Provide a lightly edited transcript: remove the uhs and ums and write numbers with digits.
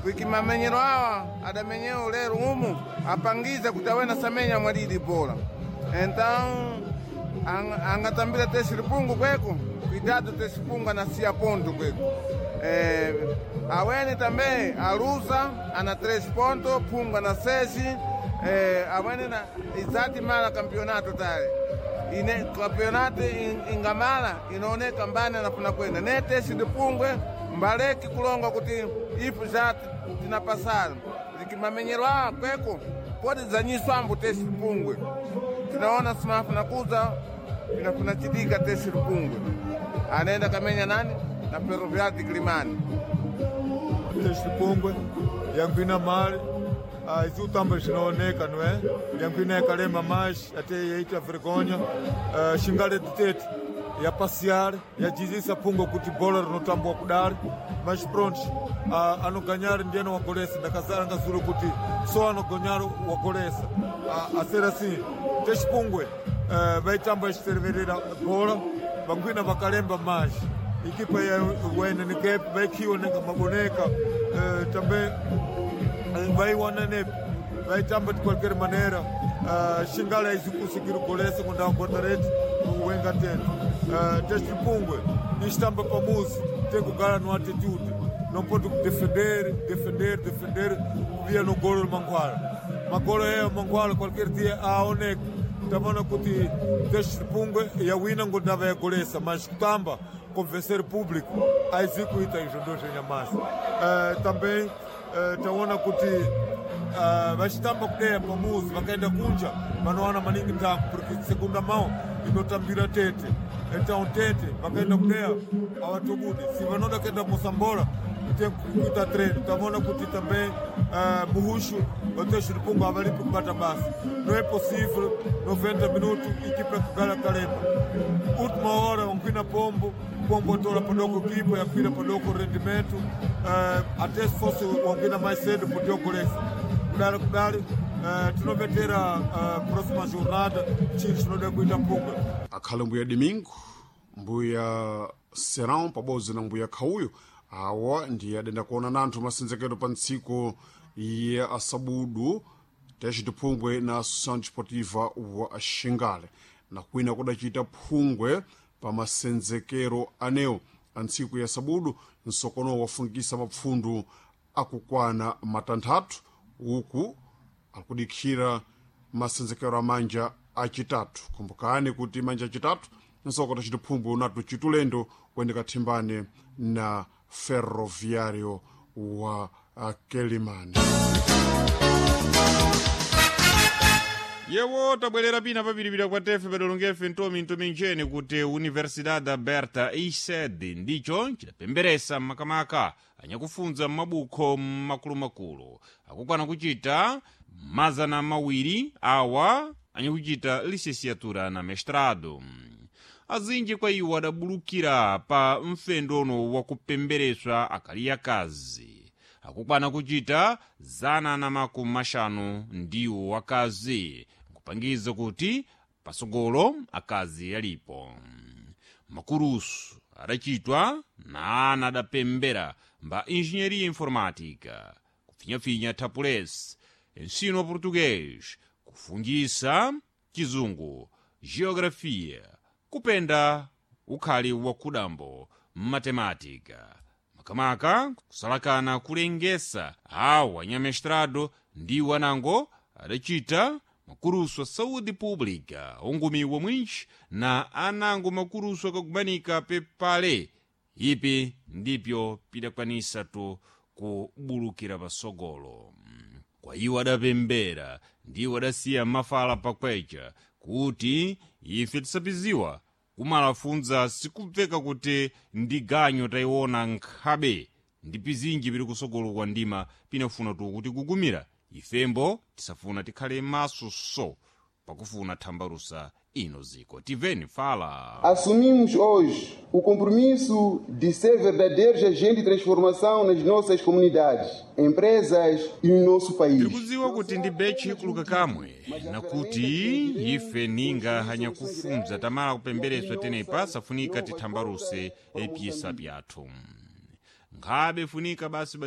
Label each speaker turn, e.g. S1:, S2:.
S1: Porque mamenyero awa adamenyeo lero umu apangiza kuti awena samenya mwalidi bola. Então angatambira tesi lipungu kweko, cuidado tesi pungu anasia ponto kweko. Awene também alusa ana 3 pontos, pungu ana 6. Awene na izati mala campeonato tale ine campeonato ingamala inaoneka mbani anafuna kwenda ne tesi dipungwe mbaleki kulonga kuti ifu za tinapasala likimamenyero a kweko podi zanyiswambu tesi lipungwe tinaona simafuna kuza pinafuna chidika tesi lipungwe anaenda kamenya nani na Ferroviário de Quelimane.
S2: Tesi lipungwe yankwina mali izi utamba zinaoneka, não é? Yankwina yakalema mais até yaita vergonha xingale tete ya passear yajizisa pungo kuti bola rinotambwa kudari, mas pronto, anoganhar ndiye wagolesa. Ndakazara ngazuro kuti só anoganhar wagolesa. A ser assim teshipungwe vaitamba ichiteverera bola, vangwina vakalemba mais equipa ya wene nikepe vaikhiwa nenga maboneka também vaiwana nepe vaitamba de qualquer maneira. Xingala aizikusukira golesa kunda guarda-redes wenga tete teste pungwe istamba pamuzi tem que no atitude, não pode defender, defender, defender via no golo manguala magolo é manguala qualquer dia a onek tamona kuti teste pungwe yawina ngondava ya golesa, mas kutamba convencer público aizikuita izvo ndo zvenyamasi. Também taona kuti vachitamba kudeya pamuzi vakaenda kunja vanowana maningi ntango porque segunda mão inotambira tete, então tete vakaenda kudeya avatobudi se vanoda kuenda mosambola tem kuita treino. Tavona kuti também muhushu vatexiripungo avalipi kubata basa. Não é possível 90 minutos equipa kugala kalemba última hora unkwina pombo pombo atola padoko equipa yakwira padoko rendimento até se fosse wankwina mais cedo podia golesa kudali kudali. Tinovetera próxima jornada chili chinoda kuita punga.
S3: Akhale mbuya Domingo, mbuya Serão pabodzi na mbuya Khauyo, awa ndiye adenda kuona nanthu masenzekero pa ntsiku ya asabudu tece tiphungwe na Associação Desportiva wa Xingale na kwina kudacita phungwe pa masenzekero anewo a ntsiku ya sabudu. Nsokono wafungisa mapfundu akukwana matanthatu uku akudikhira masenzekero a manja acitatu. Kumbukani kuti manja acitatu nsoko tacita phungwe unatu citulendo kuyendeka thimbane na Ferroviário wa Quelimane.
S4: Yewo tabwerera pina papiripira kwa tefe padolongefe ntomi ntomi ncheni kuti Universidade Aberta ised ndicho chidapemberesa makamaka anyakufunza m'mabukho makulumakulu akukwana kuchita 200 awa anyakuchita licenciatura na mestrado. Azinji kwa iwo adabulukira pa mfendono wakupembereswa akali akazi akukwana kuchita 150 ndiwo akazi, nkupangiza kuti pasogolo akazi alipo. Makurusu adachitwa na ana adapembera mba engenharia informática, kufinyafinya tapules, ensino português, kufungisa chizungu, geografia, kupenda ukhali wa kudambo, matemática, makamaka kusalakana kulengesa awa anyamestrado ndiwo anango adachita makurusu a saúde pública ongumiwa mwinji na anango makurusu akakumanika pepale ipi ndipyo pidakwanisa tu kubulukira pasogolo. Kwa iwo adapembera ndiwo adasiya mafala pakwecha kuti ife tisapiziwa kumalafunza sikubveka kuti ndi ganyo tayiona nkhabe ndi pizinji pili kusogolo kwa ndima pinafuna tu kuti kugumira ifembo tisafuna tikhale maso so pakufuna thambalusa ino ziko tiveni fala.
S5: Assumimos hoje o compromisso de ser verdadeiros agentes de transformação nas nossas comunidades, empresas e no nosso país.
S4: Tiri kudziwa kuti ndi bechi kuluka kamwe nakuti ife ninga hanyakufunza tamala kupembereswa tenepa safunika tithambaluse epyesa pyathu nkhabe funika basi basi.